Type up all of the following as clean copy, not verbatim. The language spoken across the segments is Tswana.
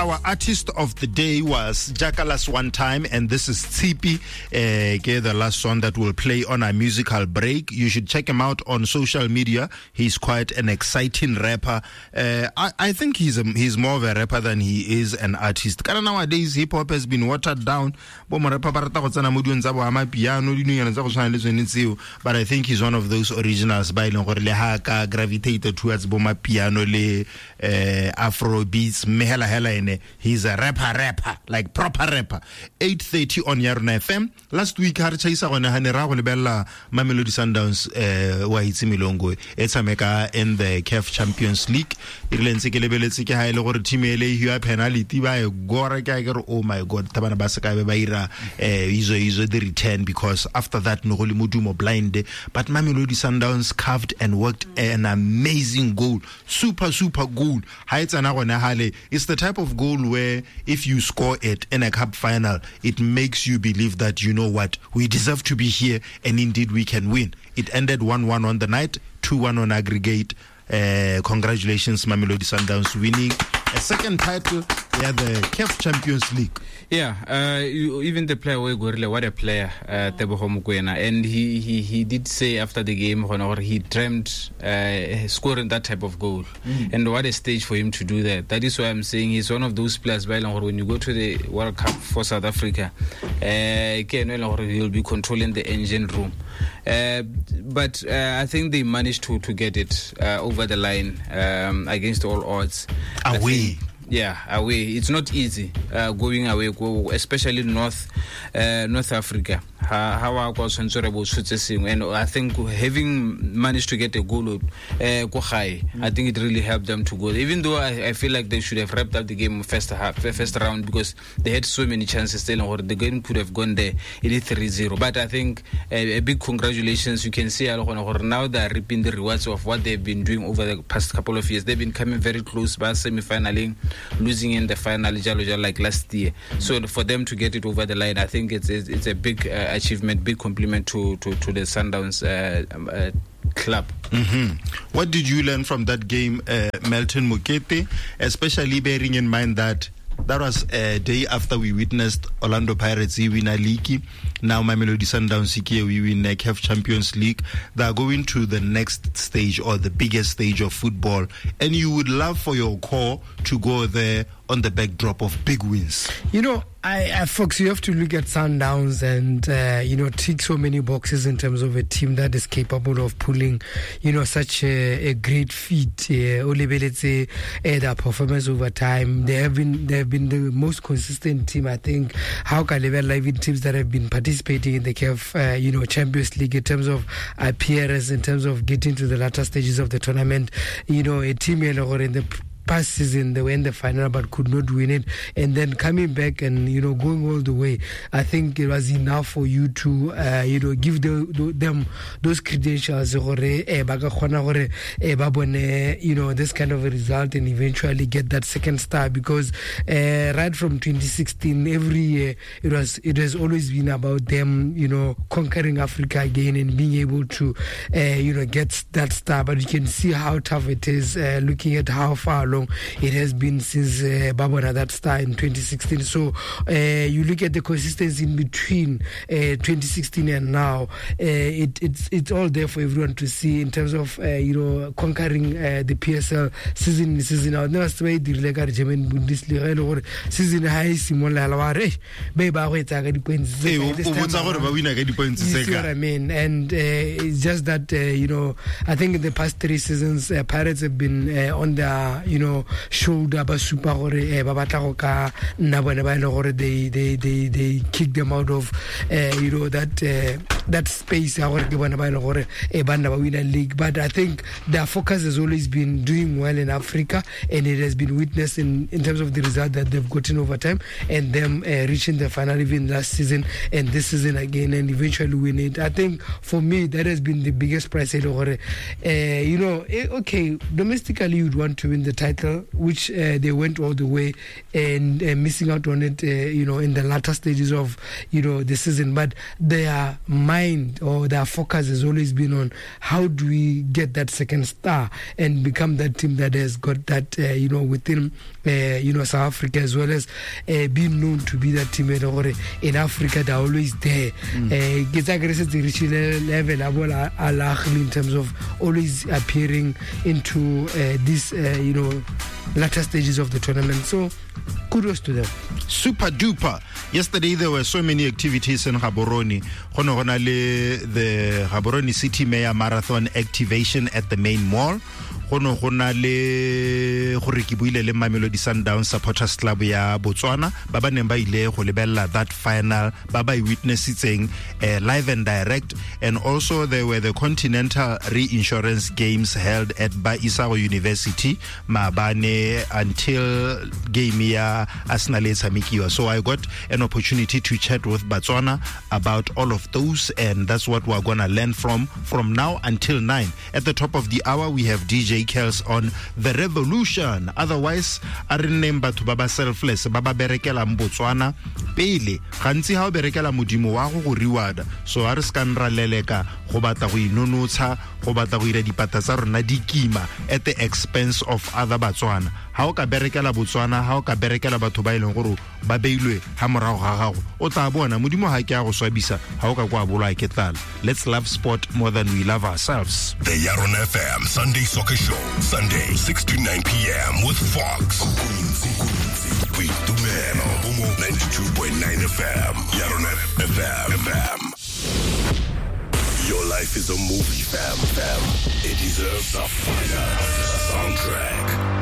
Our artist of the day was Jakalas One Time, and this is Tsipi, the last song that will play on our musical break. You should check him out on social media. He's quite an exciting rapper. I think he's more of a rapper than he is an artist. Kana nowadays, hip hop has been watered down. Bo mo rapper ba rata go tsena mo dilong tsa bo amapiano, dinonyana tsa go tshwana le tsone tseo. But I think he's one of those originals ba e leng gore le ha ka gravitated towards bo mapiano le Afro beats, mme hela hela ene he's a rapper, like proper rapper. 8:30 on Yarona FM. Last week ha re chaisa gone ha ne ra go lebella Mamelodi Sundowns wa itse Milongo e tshameka in the CAF Champions League. E rile ntse ke lebeletse ke ha ile gore team ele e hiwa penalty ba e gora ke a ke re oh my god tabana ba se ka be ba ira izo the return, because after that no go le modumo blind. But Mamelodi Sundowns carved and worked an amazing goal, super goal. Ha e tsena gone hale, it's the type of goal where if you score it in a cup final, it makes you believe that, you know what, we deserve to be here and indeed we can win. It ended 1-1 on the night, 2-1 on aggregate. Congratulations, Mamelodi Sundowns, winning a second title. They are the CAF Champions League. Yeah, even the player, what a player, Teboho Mokoena. And he did say after the game, he dreamt scoring that type of goal. Mm. And what a stage for him to do that. That is why I'm saying he's one of those players, when you go to the World Cup for South Africa, he'll be controlling the engine room. But I think they managed to get it over the line against all odds. Away. Yeah, away. It's not easy going away, especially North Africa. And I think having managed to get a goal, I think it really helped them to go. Even though I feel like they should have wrapped up the game first round, because they had so many chances. The game could have gone there. It is 3-0. But I think a big congratulations. You can see now they are reaping the rewards of what they've been doing over the past couple of years. They've been coming very close by semi-finaling, losing in the final like last year. So for them to get it over the line, I think it's a big achievement, big compliment to the Sundowns club. Mm-hmm. What did you learn from that game, Melton Mokete, especially bearing in mind that that was a day after we witnessed Orlando Pirates win a league. Now Mamelodi Sundowns we win the CAF Champions League. They are going to the next stage, or the biggest stage of football. And you would love for your core to go there on the backdrop of big wins. You know, I folks, you have to look at Sundowns and, tick so many boxes in terms of a team that is capable of pulling, such a great feat. Their performance over time. They have been the most consistent team, I think. How can level even teams that have been participating in the CAF, Champions League in terms of appearance, in terms of getting to the latter stages of the tournament. A team in the past season they were in the final but could not win it, and then coming back and going all the way. I think it was enough for you to give them those credentials, this kind of a result, and eventually get that second star, because right from 2016 every year it has always been about them conquering Africa again and being able to get that star. But you can see how tough it is, looking at how far along it has been since Babona that star in 2016. So you look at the consistency in between 2016 and now, it's all there for everyone to see in terms of conquering the PSL season in, season out. Never say the German Bundesliga season high simola wa re be ba go etsa ka di points. You see what I mean? And it's just that I think in the past three seasons Pirates have been on their shoulder ba supa gore ba batla go ka nna bone ba ile gore they kick them out of that space ya gore ke bone ba ile gore ba nna ba win league. But I think their focus has always been doing well in Africa, and it has been witnessed in terms of the result that they've gotten over time, and them reaching the final even last season and this season again, and eventually win it. I think for me that has been the biggest prize. Okay, domestically you'd want to win the title, which they went all the way and missing out on it, in the latter stages of, the season. But they are much mind or their focus has always been on how do we get that second star and become that team that has got that, within, South Africa, as well as being known to be that team in Africa. They're always there. Level in terms of always appearing into this, latter stages of the tournament. So kudos to them. Super duper. Yesterday there were so many activities in Gaborone. The Gaborone City Mayor Marathon activation at the main mall. Go na le gore ke buile le Mamelodi Sundowns Supporters Club ya Botswana ba ba neng ba ile go lebella that final ba ba witnessitseng live and direct. And also there were the Continental Reinsurance Games held at Ba Isago University maabane until game ya Arsenal e tshamekiwa. So I got an opportunity to chat with Botswana about all of those, and that's what we're gonna learn from now until 9. At the top of the hour we have DJ Kels on The Revolution. Otherwise, a re nneng batho ba ba selfless, ba ba berekelang Botswana pele. Gantsi ha o berekela modimo wa go go reward. So a re se ka ra leleka go batla go inonotsha, go batla go ira dipata tsa rona di kima at the expense of other Batswana. Ha o ka berekela Botswana, ha o ka berekela batho ba e leng gore ba beilwe ha morago ga gago, o tla bona modimo ha ke a go swabisa ha o ka kwa bolwa ke tlala. Let's love sport more than we love ourselves. The Yaron FM Sunday Soccer Show, Sunday 6 to 9 p.m. with Fox. Boitumelo, Bomo 92.9 FM, Yaron FM. Your life is a movie, fam. It deserves a fire soundtrack.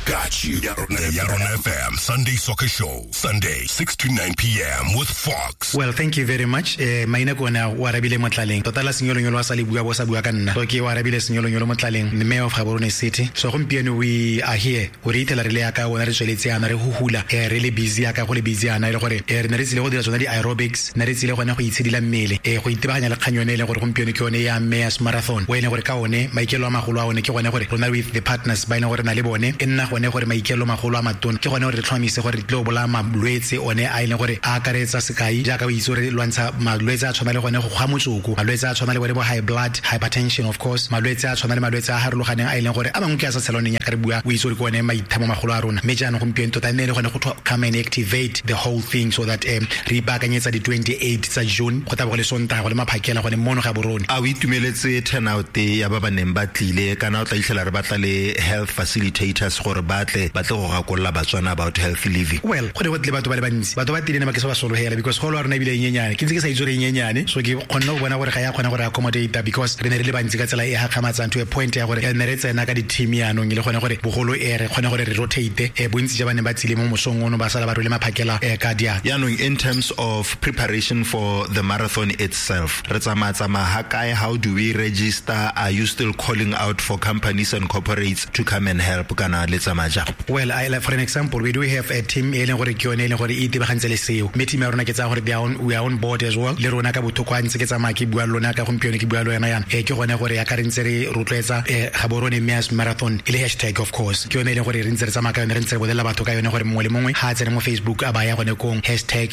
Got you. The Yaron FM Sunday Soccer Show, Sunday 6 to 9 p.m. with Fox. Well, thank you very much. Maina ke ona o arabile Motlaleng. Tota la senyolonyolo a sa le bua bo sa bua ka nna. So ke o arabile senyolonyolo Motlaleng, the mayor of Gaborone City. So gompieno we are here. O re itela re le ya ka ona re tsweletse yana re huhula. Re le busy ya ka go le busy yana e le gore re ne re tsile go dira tsona di aerobics, ne re tsile gone go itshedila mmele, go itebaganya le kgang yone e leng gore gompieno ke yone ya Mayor's Marathon. O e leng gore ka one maikelo a magolo a one ke gone gore rona with the partners ba e leng gore na le bone e nna gone gore maikelo magolo a matona ke gone gore re tlhomamise gore re tlo bolaya malwetse one a e leng gore a akaretsa sekai jaaka o itse gore lwantsha malwetse a tshwana le gone go kgwa motsoko, malwetse a tshwana le bone bo high blood, hypertension of course, malwetse a tshwana le malwetse a harologaneng a e leng gore a mangwe ke a sa tshelwaneng ya ka re bua o itse gore ke one maithamo magolo a rona. Mme jaanong gompieno tota nne le gone go come and activate the whole thing so that re ipaakanyetsa di 28 tsa June go tla bo go le Sontaga go le maphakela gone mono Gaborone. A o itumeletse turnout ya ba ba neng ba tlile kana o tla itlhela re batla le health facilitators gore ba tle go gakolola Batswana about healthy living? Well, go ne go tle batho ba le bantsi, batho ba tlile ne ba ke se ba sologela because golo wa rona ebile e nyenyane, ke ntse ke sa itse gore e nyenyane, so ke kgonne go bona gore ga ya kgona gore accommodate because re ne re le bantsi ka tsela e gakgamatsang to a point ya gore ne re tsena ka di-team yaanong e le gone gore bogolo e re kgone gore re rotate bontsi ja ba ne ba tsile mo mosong ono ba sala ba rwele maphakela ka diatla. Yaanong in terms of preparation for the marathon itself, re tsamaya ha kae? How do we register? Are you still calling out for companies and corporates to come and help kana le tsamaya jang? Well, for an example, we do have a team e leng gore ke yone e leng gore e itebagantse le seo, mme team ya rona ke tsaya gore we are on board as well. Le rona ka bothoko a ntse ke tsamaya ke bua le lona ka gompieno ke bua le wena yana, ke gone gore ya ka re ntse re rotloetsa Gaborone Mayor's Marathon e le hashtag of course, ke yone e leng gore re ntse re tsamaya ka yone, re ntse re bolelela batho ka yone gore mongwe le mongwe ha a tsene mo Facebook a baya gone kong hashtag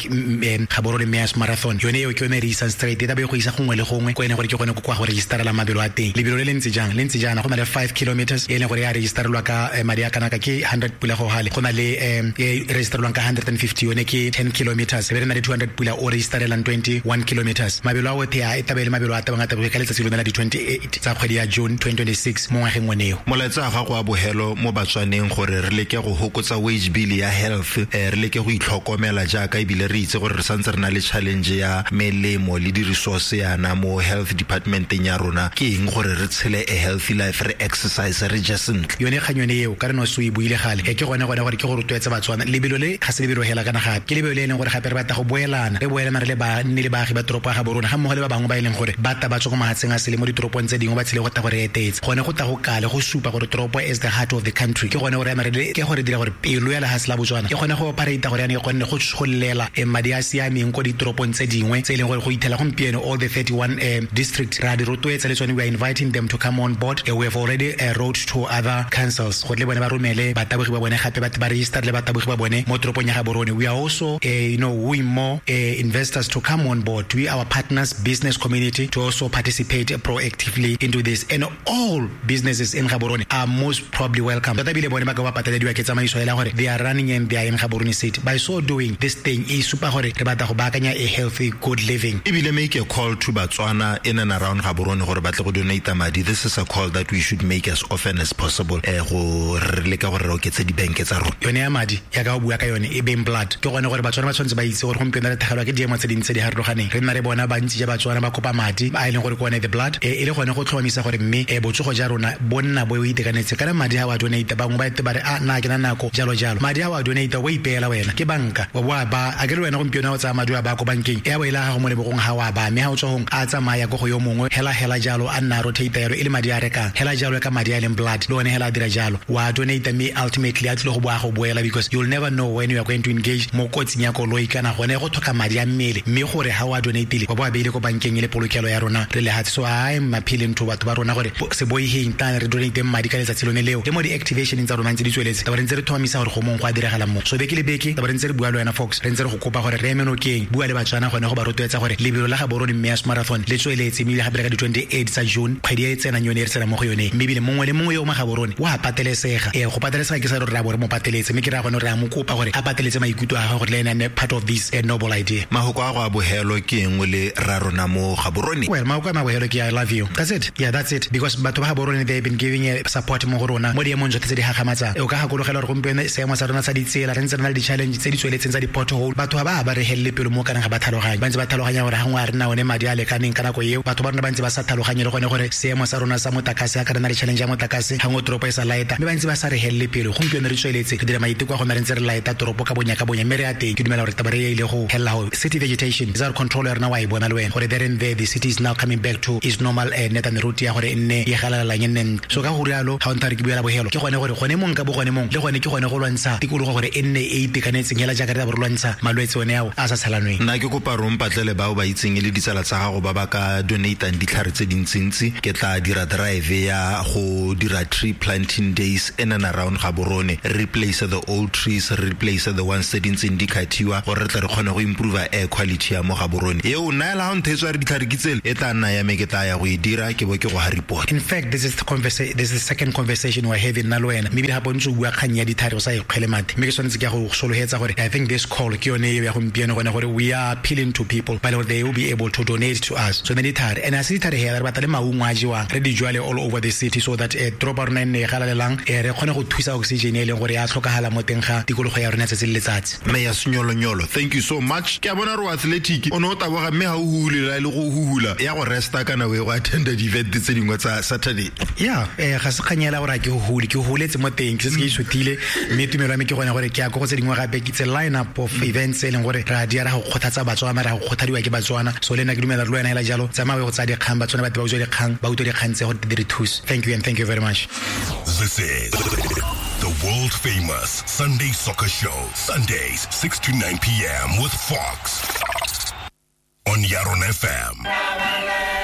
Gaborone Mayor's Marathon, yone eo ke yone re isang straight e tla be go isa gongwe le gongwe ko e leng gore ke gone ko kwa go registerela mabelo a teng. Lebelo le le ntse jang? Le ntse jaana, go na le 5 kilometers e leng gore ya registerelwa ka madi a kana ka ke 100 pula go gale, go na le e registerelwang ka 150 yone ke 10 kilometers, e be re na le 200 pula o registerelang 21 kilometers. Mabelo a otlhe a e tabe le mabelo a tabang a taboge ka letsatsi lone la di 28 tsa kgwedi ya June 2026 mo ngwageng one eo. Molaetsa wa gago wa bogelo mo Batswaneng gore re leke go hokotsa wage bill ya health, re leke go itlhokomela jaaka ebile re itse gore re santse re na le challenge ya melemo le di-resource yana mo health departmenteng ya rona, ke eng gore re tshele a healthy life, re exercise, re je sentle? Yone kgang yone eo ka re no se o e buile gale, ke gone gore ke go rotloetsa Batswana. Lebelo le ga se lebelo hela kana gape ke lebelo le e leng gore gape re batla go boelana, re boelana re le banni le baagi ba toropo ya Gaborone ga mmogo le ba bangwe ba e leng gore ba ta ba tswa ko mahatsheng a sele mo ditoropong tse dingwe ba tshele go tla go re etetse, gone go tla go kale go supa gore toropo is the heart of the country. Ke gone gore re le ke gore dira gore pelo ya lehatshe la Botswana e kgone go operate gore yana e kgone go tsholela madi a siameng ko ditoropong tse dingwe tse e leng gore go ithela gompieno all the 31 districts ra di rotloetsa le tsone. We are inviting them to come on board. We have already wrote to other councils gore le bone ba romele romele batabogi ba bone gape ba register le batabogi ba bone mo toropong ya Gaborone. We are also wooing more investors to come on board. We our partners, business community, to also participate proactively into this, and all businesses in Gaborone are most probably welcome. Tota ebile bone ba ka ba patelediwa ke tsamaiso e leng gore they are running and they are in Gaborone city. By so doing, this thing e supa gore re batla go baakanya a healthy, good living. Ebile make a call to Batswana in and around Gaborone gore ba tle go donate madi. This is a call that we should make as often as possible. Go re leka gore re oketse dibanke tsa rona. Yone ya madi ya ka o bua ka yone e beng blood, ke gone gore Batswana ba tshwanetse ba itse gore gompieno re thagelwa ke diemo tse dintsi tse di harologaneng. Re nna re bona bantsi ja Batswana ba kopa madi a e leng gore ke one the blood, e le gone go tlhomamisa gore mme botsogo ja rona bo nna bo itekanetse. Kana madi ha wa donate, bangwe ba ete ba re a nna ke na nako jalo jalo. Madi ha wa donate o ipeela wena ke banka wa bo ba a ke re wena gompieno o tsaya madi a ba ko bankeng e a bo ile ga go mo lebogong ha wa ba, mme ha o tswa gong a tsamaya go yo mongwe hela hela jalo a nna rotate yalo e le madi a rekang hela jalo ka madi a leng blood le one hela a dira jalo wa donate, mme ultimately a tlile go boa go boela, because you'll never know when you are going to engage mo kotsing ya koloi kana gone go tlhoka madi a mmele, mme gore ha wa donate wa bo a beile ko bankeng e le polokelo ya rona re lehatshe. So I am appealing to batho ba rona gore se boiheng tane re donate madi ka letsatsi lone leo, le mo di-activation tsa rona ntse di tsweletse taba re ntse re tlhomamisa gore go mong go a diragala mo. So beke le beke taba re ntse re bua le wena Fox, re ntse re go kopa gore re eme nokeng, bua le Batswana gone go ba rotloetsa gore lebelo la Gaborone Mayors Marathon le tsweletse, mme gape le ka di-28 tsa June kgwedi e tsenang yone e re tsenang mo go yone, mme ebile mongwe le mongwe yo o mo Gaborone wa patelesega. Go patelesega ke sa re re a bo re mo pateletse, mme ke raya gone re a mo kopa gore a pateletse maikutlo a gagwe gore le ene a nne part of this noble idea. Mahoko a go a bohelo ke eng le ra rona mo Gaborone? Well, mahoko a mabohelo ke I love you. That's it. Yeah, that's it. Because batho ba Gaborone, they have been giving support mo go rona mo diemong tsotlhe tse di gagamatsang. O ka gakologela gore gompieno seemo sa rona sa ditsela re ntse re na le di-challenge tse di tsweletseng tsa di-pothole. Batho ba re helele pelo mo kanang ga ba tlhaloganye, ba ntse ba tlhaloganya gore gangwe a re na one madi a lekaneng ka nako eo. Batho ba rona ba ntse ba sa tlhaloganye le gone gore seemo sa rona sa motlakase, a ka re na le challenge ya motlakase gangwe toropo e sa laeta, mme ba ntse ba sa re helele pelo. Gompieno re tsweletse re dira maiteko a gone re ntse re laeta toropo ka bonya ka bonya, mme re ya teng. Ke dumela gore taba re e ile go helela go city vegetation is our control ya rona, wa e bona le wena gore there and there the city is now coming back to its normal net and route ya gore e nne e galalelang e nne. So ka go rialo ga o ntha re ke buela bohelo ke gone gore gone mong ka bo gone mong le gone ke gone go lwantsha tikologo gore e nne e itekanetseng hela jaaka re tla bo re lwantsha malwetse one ao a sa tshelanweng. Nna ke kopa re mpatlele bao ba itseng e le ditsala tsa gago ba ba ka donatang ditlhare tse dintsintsi. Ke tla dira drive ya go dira tree planting days in and around Gaborone, replace the old trees, replace the ones tse di ntseng di kgathiwa gore re tle re kgone go improve air quality ya mo Gaborone. Eo nna la go nthetswa re ditlhare ke tsele e tla nna ya me, ke tla ya go e dira ke bo ke go ha report. In fact, this is the second conversation we're having nna le wena, mme ebile gape o ntse o bua kgang ya ditlhare o sa e kgwele mate, mme ke tshwanetse ke ya go solohetsa gore I think this call ke yone eo ya gompieno gone gore we are appealing to people ba le gore they will be able to donate to us. So ne ditlhare and a se ditlhare hela, re batla le maungo a jewang re di jwale all over the city so that toropo ya rona e nne e galalelang, re kgone go thusa oxygen e leng gore ya tlhokagala mo teng ga tikologo ya rona tsatsi le letsatsi. Mayor Seyolonyolo, thank you so much. Ke a bona re o athletic, o ne o taboga mme ha o hulela le go huhula ya go resta kana o e go attenda di-event tse dingwe tsa Saturday. Yeah, ga se kgang ela gore a ke hule, ke huletse mo teng, ke setse ke isuthile, mme tumelo ya me ke gone gore ke ya ko go tse dingwe gape. Ke tse line up of events e leng gore re a di ra go kgothatsa Batswana, ra go kgothadiwa ke Batswana. So le nna ke dumela le wena hela jalo, tsamaya o ye go tsaya dikgang, Batswana ba te ba utswa dikgang, ba utlwe dikgang tse gore di re thuse. Thank you and thank you very much. This is the world famous Sunday Soccer Show, Sundays 6 to 9 p.m. with Fox on Yaron FM.